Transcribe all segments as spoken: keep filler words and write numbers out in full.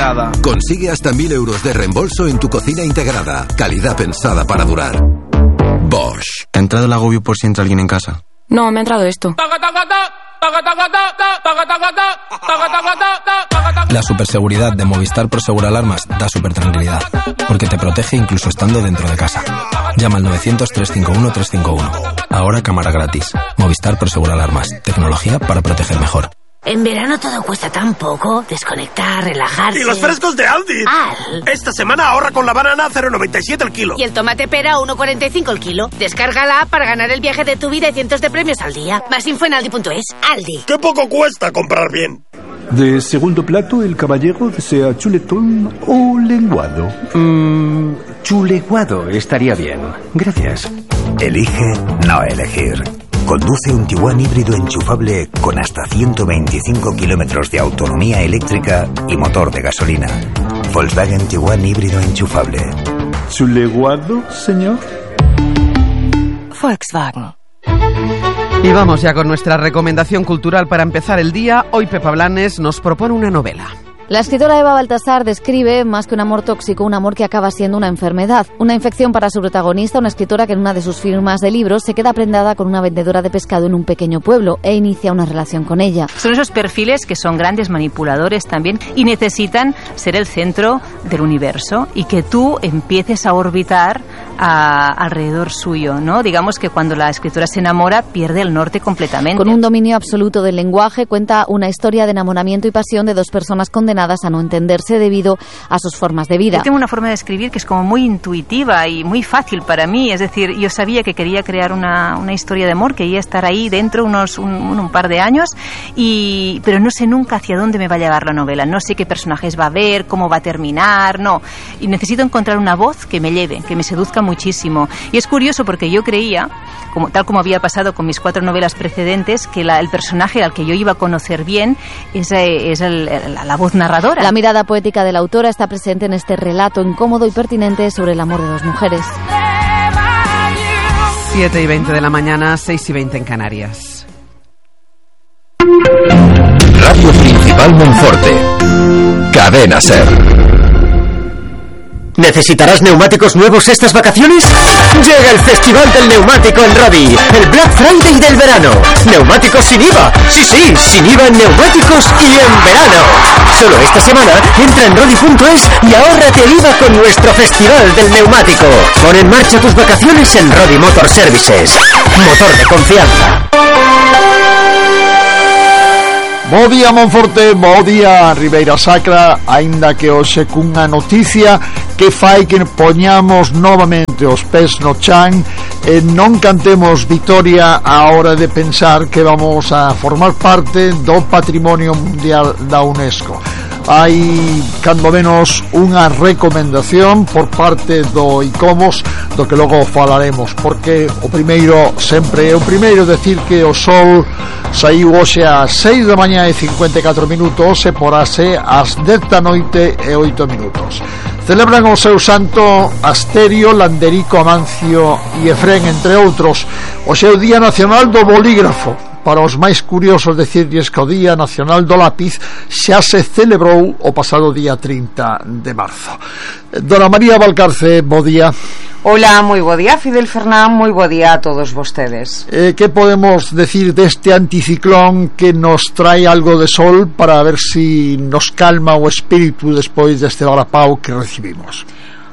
integrada. Consigue hasta mil euros de reembolso en tu cocina integrada. Calidad pensada para durar. Bosch. ¿Te ha entrado el agobio por si entra alguien en casa? No, me ha entrado esto. La superseguridad de Movistar Prosegur Alarmas da super tranquilidad, porque te protege incluso estando dentro de casa. Llama al novecientos, trescientos cincuenta y uno, trescientos cincuenta y uno. Ahora cámara gratis. Movistar Prosegur Alarmas. Tecnología para proteger mejor. En verano todo cuesta tan poco. Desconectar, relajarse. ¡Y los frescos de Aldi! ¡Al! Esta semana ahorra con la banana a cero coma noventa y siete el kilo. Y el tomate pera a uno coma cuarenta y cinco el kilo. Descarga la app para ganar el viaje de tu vida y cientos de premios al día. Más info en aldi punto es. Aldi. ¡Qué poco cuesta comprar bien! De segundo plato, el caballero desea chuletón o lenguado. Mmm, chuleguado estaría bien. Gracias. Elige no elegir. Conduce un Tiguan híbrido enchufable con hasta ciento veinticinco kilómetros de autonomía eléctrica y motor de gasolina. Volkswagen Tiguan híbrido enchufable. ¿Chuleguado, señor? Volkswagen. Y vamos ya con nuestra recomendación cultural para empezar el día. Hoy Pepa Blanes nos propone una novela. La escritora Eva Baltasar describe, más que un amor tóxico, un amor que acaba siendo una enfermedad. Una infección para su protagonista, una escritora que en una de sus firmas de libros se queda prendada con una vendedora de pescado en un pequeño pueblo e inicia una relación con ella. Son esos perfiles que son grandes manipuladores también y necesitan ser el centro del universo y que tú empieces a orbitar a, alrededor suyo, ¿no? Digamos que cuando la escritora se enamora pierde el norte completamente. Con un dominio absoluto del lenguaje, cuenta una historia de enamoramiento y pasión de dos personas condenadas a no entenderse debido a sus formas de vida. Yo tengo una forma de escribir que es como muy intuitiva y muy fácil para mí, es decir, yo sabía que quería crear una, una historia de amor, quería estar ahí dentro unos un, un par de años, y pero no sé nunca hacia dónde me va a llevar la novela, no sé qué personajes va a haber, cómo va a terminar, no, y necesito encontrar una voz que me lleve, que me seduzca muchísimo. Y es curioso porque yo creía, como, tal como había pasado con mis cuatro novelas precedentes, que la, el personaje al que yo iba a conocer bien es, es el, la, la voz narradora. La mirada poética de la autora está presente en este relato incómodo y pertinente sobre el amor de dos mujeres. siete y veinte de la mañana, seis y veinte en Canarias. Radio Principal Monforte. Cadena SER. ¿Necesitarás neumáticos nuevos estas vacaciones? Llega el Festival del Neumático en Rodi, el Black Friday del verano. Neumáticos sin I V A. Sí, sí, sin I V A en neumáticos y en verano. Solo esta semana entra en rodi punto es y ahórrate el I V A con nuestro Festival del Neumático. Pon en marcha tus vacaciones en Rodi Motor Services. Motor de confianza. Bo día Monforte, bo día Ribeira Sacra, aínda que hoxe cunha noticia que fai que poñamos novamente os pés no chan e non cantemos vitoria á hora de pensar que vamos a formar parte do Patrimonio Mundial da UNESCO. Hai, cando menos, unha recomendación por parte do ICOMOS, do que logo falaremos, porque o primeiro sempre é o primeiro. Decir que o sol saiu hoxe ás seis da mañá e cincuenta e catro minutos e porase ás dez da noite e oito minutos. Celebran o seu santo Asterio, Landerico, Amancio e Efrén, entre outros. Hoxe é o Día Nacional do Bolígrafo. Para os máis curiosos, decirlles que o Día Nacional do Lápiz xa se celebrou o pasado día trinta de marzo. Dona María Valcarce, bo día. Hola, moi bo día, Fidel Fernán, moi bo día a todos vostedes. Eh, que podemos decir deste anticiclón que nos trae algo de sol para ver si nos calma o espírito despois deste varapau que recibimos?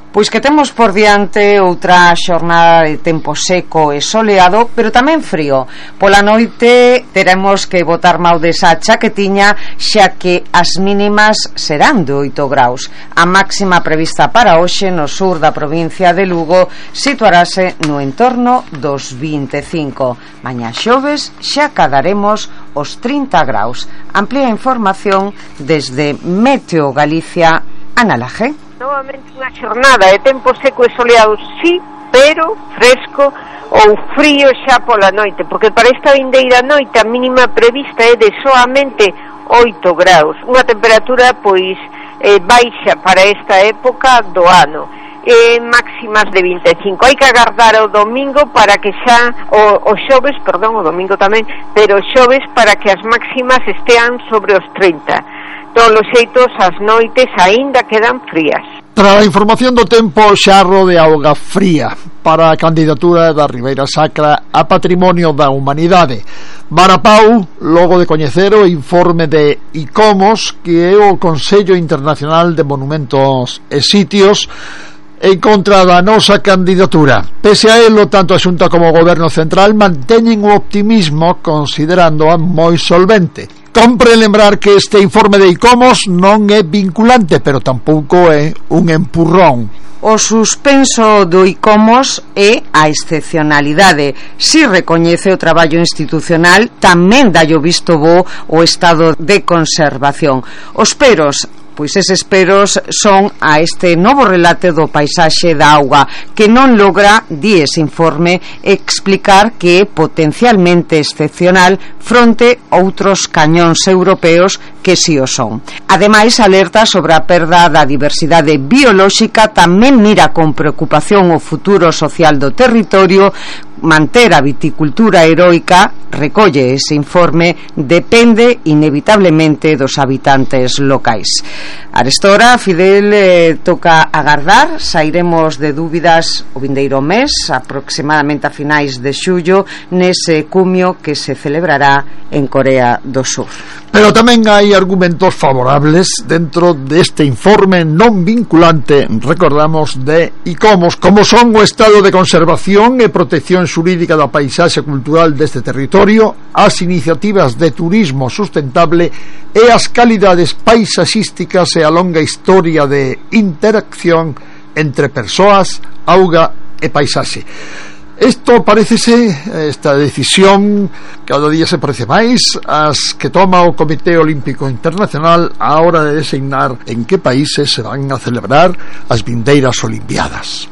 Pois que temos por diante outra xornada de tempo seco e soleado, pero tamén frío. Pola noite teremos que botar mau desa chaquetiña, xa que as mínimas serán de oito graus. A máxima prevista para hoxe no sur da provincia de Lugo situarase no entorno dos vinte e cinco. Mañá xoves xa cadaremos os trinta graus. Amplía información desde Meteo Galicia, Ana Laje. Novamente unha xornada de tempo seco e soleado, sí, pero fresco ou frío xa pola noite, porque para esta vindeira noite a mínima prevista é de soamente oito graus, unha temperatura pois eh, baixa para esta época do ano. eh, máximas de vinte e cinco. Hai que agardar o domingo para que xa o, o xoves, perdón, o domingo tamén, pero o xoves para que as máximas estean sobre os trinta. Todos os xeitos, as noites aínda quedan frías. Tras a información do tempo, xarro de auga fría para a candidatura da Ribeira Sacra a Patrimonio da Humanidade. Barapau, logo de coñecer o informe de ICOMOS, que é o Consello Internacional de Monumentos e Sitios, en contra da nosa candidatura. Pese a elo, tanto a Xunta como o Goberno Central manteñen o optimismo considerándoa moi solvente. Compre lembrar que este informe de ICOMOS non é vinculante, pero tampouco é un empurrón. O suspenso do ICOMOS é a excepcionalidade. Si recoñece o traballo institucional, tamén dá o visto bo o estado de conservación. Os peros, pois eses peros son a este novo relate do paisaxe da auga, que non logra, di ese informe, explicar que é potencialmente excepcional fronte a outros cañóns europeos que si o son. Ademais, alerta sobre a perda da diversidade biolóxica, tamén mira con preocupación o futuro social do territorio. Manter a viticultura heroica, recolle ese informe, depende inevitablemente dos habitantes locais. Arestora, Fidel, eh, toca agardar, sairemos de dúbidas o vindeiro mes, aproximadamente a finais de xullo, nese cumio que se celebrará en Corea do Sur. Pero tamén hai argumentos favorables dentro deste informe non vinculante, recordamos, de ICOMOS, como son o estado de conservación e protección xurídica da paisaxe cultural deste territorio, as iniciativas de turismo sustentable e as calidades paisaxísticas e a longa historia de interacción entre persoas, auga e paisaxe. Isto parécese, esta decisión cada día se parece máis as que toma o Comité Olímpico Internacional a hora de designar en que países se van a celebrar as vindeiras Olimpiadas.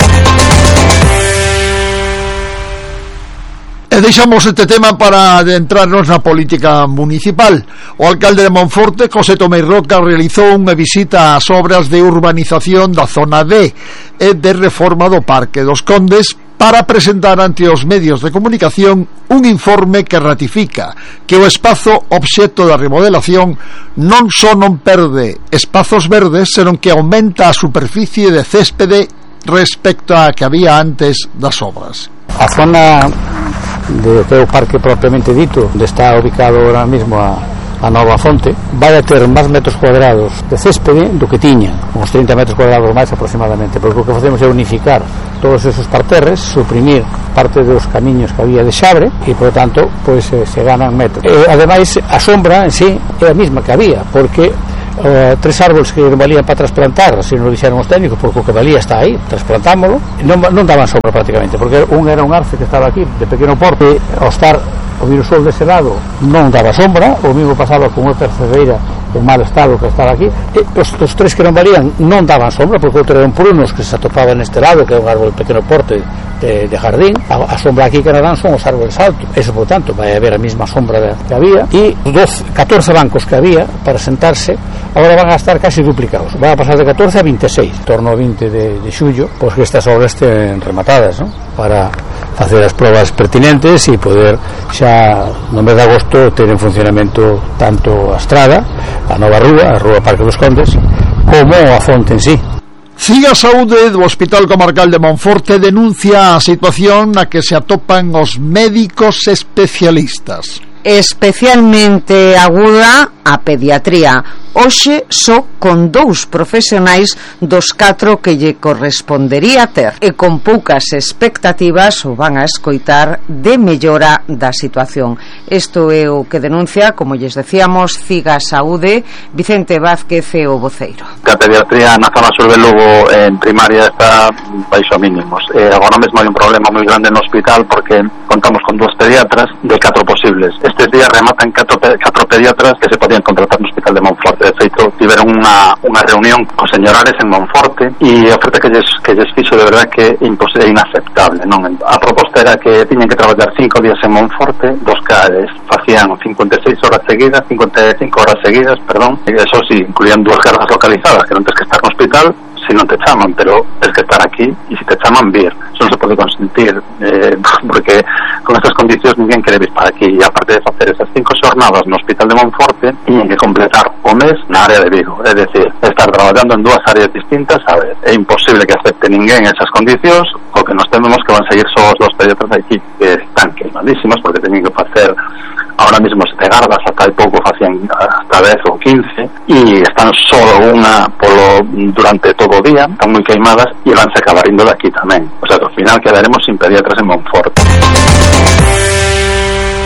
E deixamos este tema para adentrarnos na política municipal. O alcalde de Monforte, José Tomé Roca, realizou unha visita ás obras de urbanización da zona D e de reforma do Parque dos Condes para presentar ante os medios de comunicación un informe que ratifica que o espazo obxecto da remodelación non só non perde espazos verdes, senón que aumenta a superficie de céspede respecto a que había antes das obras. A zona de que é o parque propiamente dito, onde está ubicado ahora mismo a, a Nova Fonte, vai a ter máis metros cuadrados de céspede do que tiña, uns trinta metros cuadrados máis aproximadamente, porque o que facemos é unificar todos esos parterres, suprimir parte dos camiños que había de xabre e, por tanto, pois pues, se ganan metros. E, ademais, a sombra en sí é a mesma que había, porque Uh, tres árboles que non valían para trasplantar, así non lo dixeron os técnicos, porque o que valía está aí, trasplantámoslo, non, non daban sombra prácticamente, porque un era un arce que estaba aquí de pequeno porte, ao estar o virusol dese lado non daba sombra, o mesmo pasaba con outra cerceira en mal estado que estaba aquí, e os, os tres que non valían non daban sombra, porque outro eran prunos que se atopaban neste lado, que é un árbol de pequeno porte de, de jardín. A, a sombra aquí que non dan son os árboles altos, eso por tanto vai haber a mesma sombra que había, e os doce, catorce bancos que había para sentarse agora van a estar casi duplicados, van a pasar de catorce a vinte e seis, en torno ao vinte de, de xullo, pois que estas obras estén rematadas, ¿no? Para facer as probas pertinentes e poder xa no mes de agosto ter en funcionamento tanto a estrada, a nova rúa, a rúa Parque dos Condes, como a fonte en sí. Siga Saúde do Hospital Comarcal de Monforte denuncia a situación na que se atopan os médicos especialistas. Especialmente aguda a pediatría. Hoxe só con dous profesionais dos catro que lle correspondería ter, e con poucas expectativas o van a escoitar de mellora da situación. Isto é o que denuncia, como lles decíamos, Siga Saúde, Vicente Vázquez e o voceiro. A pediatría na zona sur de Lugo en primaria está baixo mínimos. Eh, agora mesmo hai un problema moi grande no hospital porque contamos con dúas pediatras de catro posibles. Estes días rematan catro, catro pediatras que se podían contratar no hospital de Monforte. De feito, tiveron unha, unha reunión con señorares en Monforte e a oferta que lles, que lles fixo de verdad que é inaceptable, non? A proposta era que tiñan que traballar cinco días en Monforte, dos cares facían cincuenta e seis horas seguidas, cincuenta e cinco horas seguidas, perdón, e eso sí, incluían dúas cargas localizadas, que non tens que estar no hospital, si non te chaman, pero es que estar aquí e se te chaman vir, eso non se pode consentir, eh, porque con estas condicións ninguén quere vir para aquí, e aparte de facer esas cinco xornadas no Hospital de Monforte, tiñen que completar o mes na área de Vigo, é dicir, estar traballando en dúas áreas distintas, a ver, é imposible que acepte ninguén esas condicións, o que nos tememos que van seguir só os dos pediatras aquí, que están queimadísimas, porque teñen que facer ahora mismo sete gardas, hasta hai pouco facían hasta dez ou quince, e están só unha polo durante todo o día, están moi queimadas e vanse acabar indo de aquí tamén, o sea que ao final quedaremos sin pediatras en Monforte.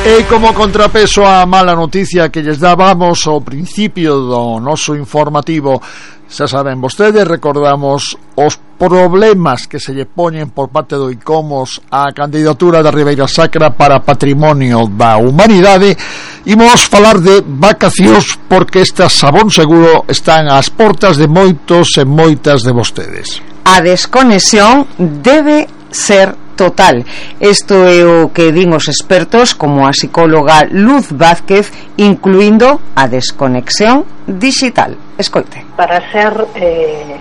E como contrapeso á mala noticia que lles dábamos ao principio do noso informativo, xa saben vostedes, recordamos os problemas que se lle poñen por parte do ICOMOS á candidatura da Ribeira Sacra para Patrimonio da Humanidade. Imos falar de vacacións porque estas, sabón seguro, están ás portas de moitos e moitas de vostedes. A desconexión debe ser total. Isto é o que din os expertos, como a psicóloga Luz Vázquez, incluindo a desconexión digital. Escoite. Para ser eh,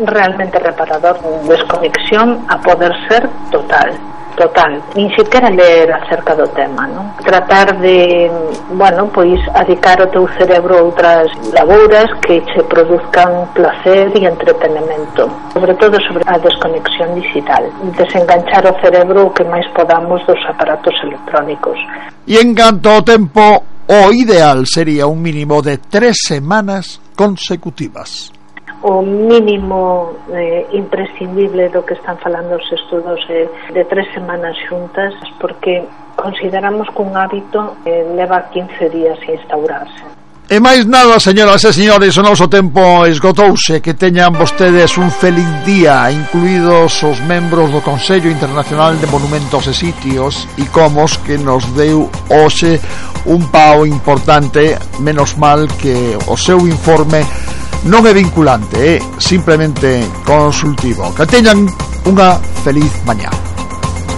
realmente reparador, desconexión a poder ser total. Total, nin sequera ler acerca do tema, non? Tratar de, bueno, pois adicar o teu cerebro a outras labouras que che produzcan placer e entretenimento, sobre todo sobre a desconexión digital, desenganchar o cerebro o que máis podamos dos aparatos electrónicos. E en canto ao tempo, o ideal sería un mínimo de tres semanas consecutivas. O mínimo eh, imprescindible do que están falando os estudos é de tres semanas xuntas, porque consideramos que un hábito eh, leva quince días a instaurarse. E máis nada, señoras e señores, o noso tempo esgotouse. Que teñan vostedes un feliz día, incluídos os membros do Consello Internacional de Monumentos e Sitios, ICOMOS, que nos deu hoxe un pao importante, menos mal que o seu informe non é vinculante, é simplemente consultivo. Que teñan unha feliz mañá.